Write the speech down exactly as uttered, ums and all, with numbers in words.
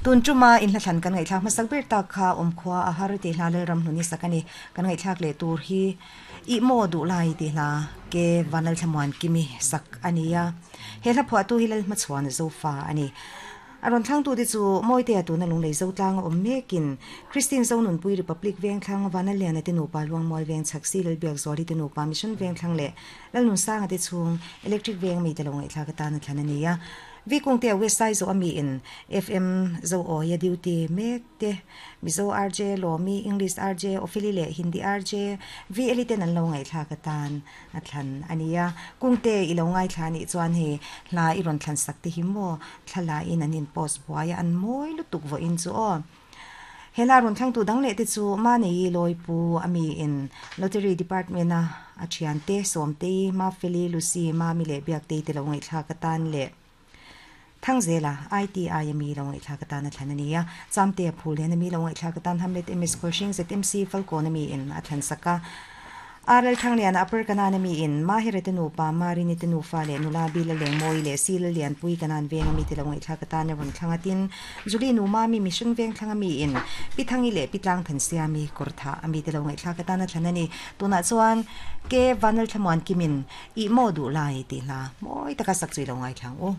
Tun tuma in hla thlan kan ngaihthlak hmasak ber tak kha awmkhua a har tih hla Lalram hnuni sak a ni. Kan ngaihthlak leh tur hi Ih maw duh lai tih hla ke Vanlalthlamuan Kimi sak a ni a. He hla phuahtu hi Lalhmachhuan Zofa a ni. A rawn thlangtute chu Mawitea tuna Lunglei Zotlang a awm mekin Christine Zonunpui Republic Vengthlang Vanalliana te nupa Luangmual Veng Chhaksi Lalbiakzuali te nupa Mission Vengthlang leh Lalnunsanga te chhung Electric Veng mite lo ngaihthlak atan a thlan a ni a. Vikungte a West Saizaw a mi in F M Zoawia duty mek te, Mizo R J Lawmi, English R J Opheli leh Hindi R J V Eli ten an lo ngaihthlak atan a thlan a ni a. Kungte i lo ngaithla anih chuan hei hla i rawn thlan sak te hi maw thla in an in post buai a, an mawi lutuk vawiin chu aw. He hla rawn thlangtu dang leh te chu Manei Lawipu a mi in Lottery Department a a thiante Sawmtei, Mafeli, Lucy, Mami leh Biaktei te lo ngaihthlak atan leh Thangzela, I T I a mi lo ngaihthlak atan a thlan a ni a. Chamtea Phulian a mi lo ngaihthlak atan Hamlet M S Khawlhring Z M C Falkawn a mi in a thlan sak a. R L Thangliana Upper Kanan a mi in Mahire te nupa, Marini te nufa leh nula Bila Lengmawi leh Sila Lianpui Kanan veng a mi te lo ngaihthlak atan a rawn thlang a. Tin, Julie nu Mami Mission veng thlang a mi in Pi Thangi leh Pi Tlang Thansiami Kawrthah a mi te lo ngaihthlak atan a thlan a ni. Tunah chuan Ke Vanlalthlamuan Kimin Ih maw duh lai tih hla mawi taka sak chu i lo ngaithlang u.